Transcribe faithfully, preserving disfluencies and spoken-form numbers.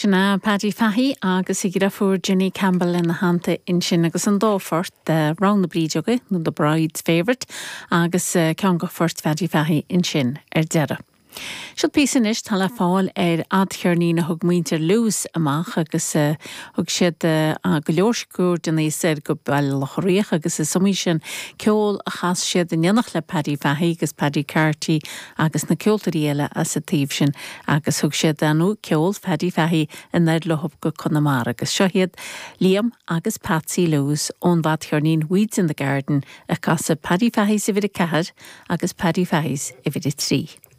Sin é Paddy Fahey agus a dheirfiúr Jenny Campbell ina theannta ansin agus an dá phort Rogha na Brídeoige nó The Bride's Favourite agus ceann de phoirt Phaddy Fahey ansin ar deireadh. Seo píosa anois tá le fáil ar fhadcheirnín a thug muintir Lewis amach agus uh, thug siad uh, go leor scór den aos go Baile Locha Riach agus is iomaí sin ceol a chas siad in éineacht le Paddy Fahey agus Paddy Carty agus na ceoltóirí eile as an taobh sin agus thug siad anu ceol Paddy Fahey anoir leo go Conamara agus seo iad Liam agus Patsy Lewis ón bhfadcheirnín Weeds in the Garden ag casadh Paddy Fahey's uimhir a ceathair agus Paddy Fahey's uimhir a trí.